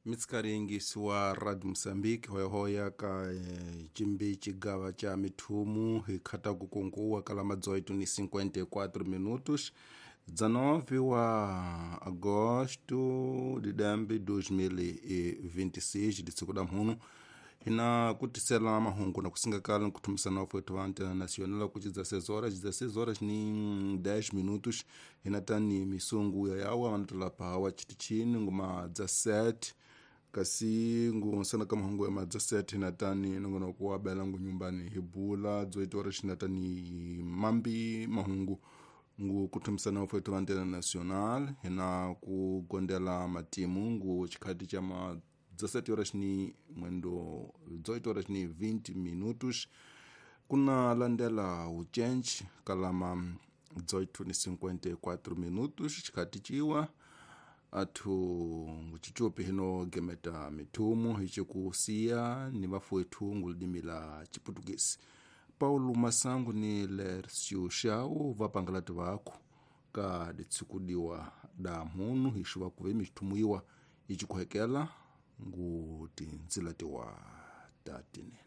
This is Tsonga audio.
Mitsikari wa Radio Moçambique hoyahoya ka cimbi cigava ca mithumu hi khataku kunkuwa kala ma 18:54 minutos 19 wa agosto de dambe 2026 disiku da mhunu hina kutisela mahungu na kusingakala nkuthumisana wafwetu va antena nacional ku 16 horas 16 horas ni 10 minutos hina tani misungu ya yawa vanatolapa hawa chitichini nguma 17 kasi ngunsana ka mahungu ya ma 17 hina tani nongonoko wa bela ngu nyumbani hi bula 18 horas hina tani mambi mahungu ngu kuthumisana wafwetu va antena nacional hina ku gondela matimu ngu chikhati cha ma 17 horas ni mwendo 18 horas ni 20 minutos kuna landela uchenji kalama 18:54 minutos chikhati chiwa athu nguchichupi hino gemeta mithumu hichikusiya ni vafuethu ngulidimi la chiputukisi Paulo Masangu ni Lercio Shau vapangalati vakhu ka ditsikudiwa da mhunu hixu vakuve mithumu iwa ichikuhekela ngu tindzila tiwa ta tinene.